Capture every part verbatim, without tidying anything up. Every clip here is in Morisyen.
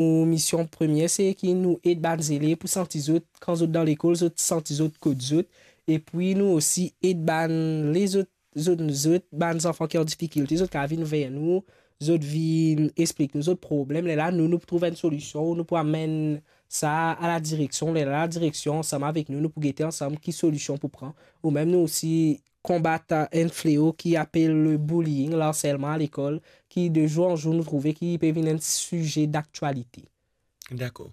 nou mision premie, se ki nou ed bann zelev pou santi zot, kan zot dan lekol, zot santi zot kot zot. Epi nou osi ed bann lezot, zot, zot, bann zanfan ki an difikilte, zot kapav vinn ver nou, zot vinn explik nou zot problem. Lerla nou, nou pou trouv enn solision, nou pou amenn sa a ladireksion. Lerla ladireksion, ansam avek nou, nou pou gete ansam ki solision pou pran. Ou mem nou osi konbat enn fleo ki apel le bullying, larselman alekol, ki de zour an zour nou trouve ki pe vinn enn size daktialite. Dakor.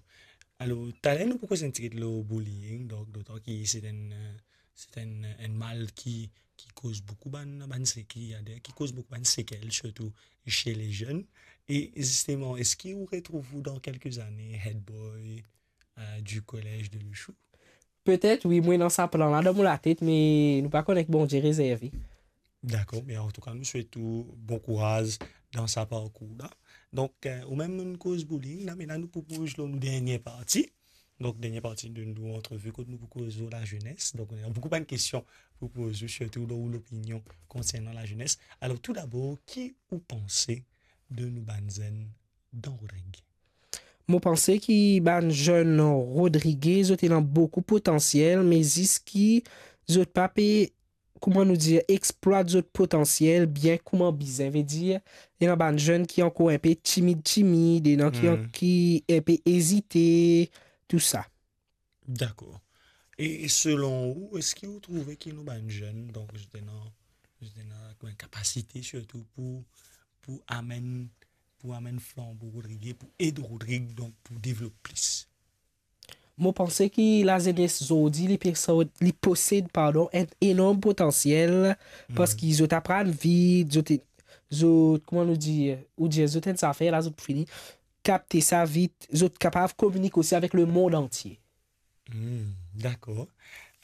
Alor, taler nou pou koz enn tigit lor bullying, donk, dotan ki se enn, eh, se enn, enn mal ki, ki koz boukou bann, bann seki-, ki koz boukou bann sekel, sirtou chez les jeunes. E zisteman, eski ou retrouv ou dan kelke zane head boy, eh, du collège de Luchou? Petet, wi, mwa ena sa plan la dan mo latet, me nou pa kone ki Bondie rezerve. Dakor, me antouka, nou swet ou bon kouraz dan sa parkour la. Donk, eh, ou mem nou koz bullying la, me la nou pou ploz lor nou dernie parti. Donk, dernie parti de nou antrevi kot nou pou koz lor lazenes. Donk, nou ena boukou bann kestion pou poz ou, sirtou lor ou lopinion konsernan lazenes. Alor, toudabor, ki ou panse de nou bann zenn dan Rodrig? Mo panse ki bann zenn Rodrig, zot ena boukou potansiel, me zis ki zot pa pe, kouma nou dir, explwat zot potansiel bien kouma bizin. Vedir, ena bann zenn ki ankor inpe timid, timid, ena ki, Hmm. ki inpe ezite, tou sa. Dakor. E, e selon ou, eski ou trouve ki nou bann zenn, donk, zot ena, zot ena kouma kapasite sirtou pou, pou amenn, pou amenn flanbo Rodrig, pou ed Rodrig, donk, pou devlop plis? Mo panse ki lazenes zordi, li pe-, li posed, pardon, enn enorm potansiel, Hmm. parski zot aprann vit, zot, zot, kouma nou dir, ou dir, zot enn zafer la, zot pou fini kapte sa vit, zot kapav kominik osi avek lemond antie. Hmm, dakor.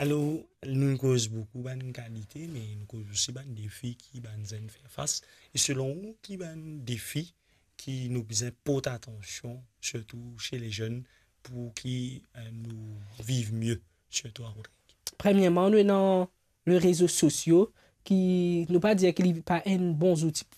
Alor, nou koz boukou bann kalite, me nou koz osi bann defi ki bann zenn fer fas. E selon ou, ki bann defi ki nou bizin port atansion, sirtou chez les jeunes, pou ki, eh, nou viv mie, sirtou a Rodrig? Premierman, nou ena le rezo sosio, ki nou pa dir ki li pa enn bon zouti.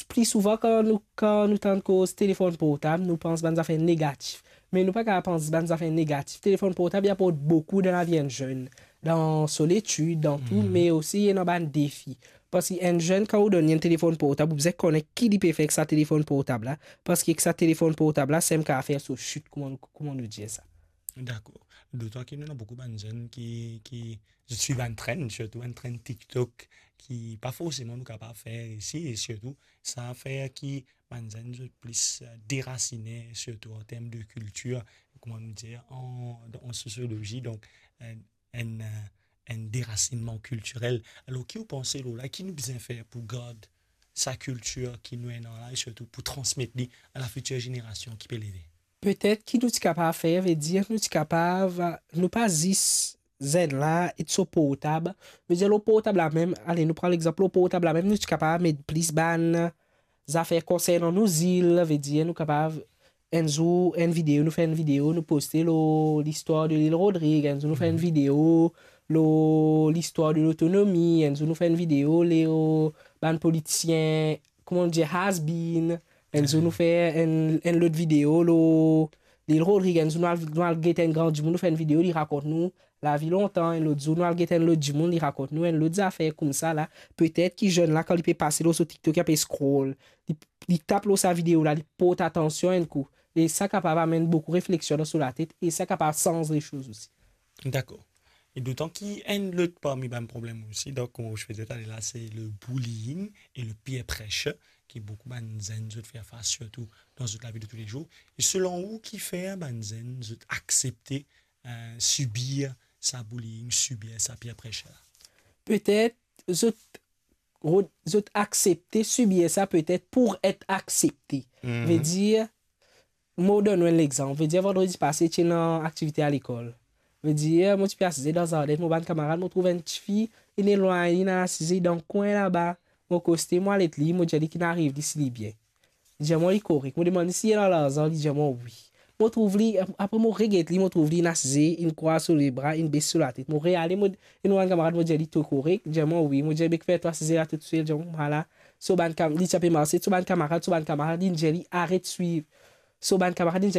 Pli souvan, kan nou, kan nou tann koz telefon portab, nou pans bann zafer negatif. Me nou pa kapav pans bann zafer negatif. Telefon portab, li aport boukou dan lavi enn zenn, dan so letid, dan tou, Mhm. me osi ena bann defi. Parski enn zenn, kan ou donn li enn telefon portab, ou bizin kone ki li pe fer ek sa telefon portab la. Parski ek sa telefon portab la, samem kapav fer so sit, kouma, kouma nou dir sa. Dakor. Dotan ki nou ena boukou bann zenn ki, ki zot swiv bann trend, sirtou bann trend TikTok, ki pa forseman nou kapav fer isi, e sirtou, sa fer ki bann zenn zot plis, eh, derasine, sirtou an term de kiltir, kouma nou dir, an, an sosiolozi, donk, eh, enn, eh, enn derasinnman kiltirel. Alor, ki ou panse lor la, ki nou bizin fer pou gard sa kiltir ki nou ena la, e sirtou pou transmet li a la fitir zenerasion ki pe leve? Petet ki nou ti kapav fer, vedir nou ti kapav, nou pa zis zenn la et so portab. Vedir lor portab la mem, ale, nou pran lexanp, lor portab la mem, nou ti kapav met plis bann zafer konsernan nou zil, vedir nou kapav, enn zour, enn video, nou fer enn video, nou poste lor listwar de lil Rodrig, enn zour nou fer enn Mhm. video lor listwar de lotonomi, enn zour nou fer enn video lor bann politisien, kouma nou dir, has been, enn zour nou fer enn, enn lot video lor lil Rodrig, enn zour nou al, nou al get enn gran dimoun, nou fer enn video, li rakont nou lavi lontan, enn lot zour nou al get enn lot dimoun, li rakont nou enn lot zafer koumsa la. Petet ki zenn la, kan li pe pase lor so TikTok, li pe scroll, li, li tap lor sa video la, li port atansion enn kou. E sa kapav amenn boukou refleksion dan so latet, e sa kapav sanz lesoz osi. Dakor. E dotan ki enn lot parmi bann problem osi, donk, kouma ou ti pe dir talè la, se le bullying e le peer pressure ki boukou bann zenn zot fer fas, sirtou dan zot lavi de toulezour. E selon ou, kifer bann zenn zot aksepte, eh, sibir sa bullying, sibir sa peer pressure la? Petet zot, zot aksepte sibir sa petet pour et aksepte. Mhm. Vedir, mo donn ou enn lexanp. Vedir, vandredi pase, ti ena aktivite alekol. Vedir, mo ti pe asize dan zarden, mo bann kamarad, mo trouv enn tifi, inn elwagn, inn asize dan kwin laba. Mo akoste, mo al get li, mo dir li kinn ariv li, si li bien. Li dir mwa li korek. Mo demann li si li ena larzan, li dir mwa wi. Mo trouv li, apre mo reget li, mo trouv li inn asize, inn krwaz so lebra, inn bes so latet. Mo reale, mo, enn bann kamarad, mo dir li to korek, li dir mwa wi. Mo dir be kifer to asize la tou sel, li dir mwa la. So bann kam-, li ti pe marse, so bann kamarad, so bann kamarad inn dir li aret swiv. So bann kamarad inn dir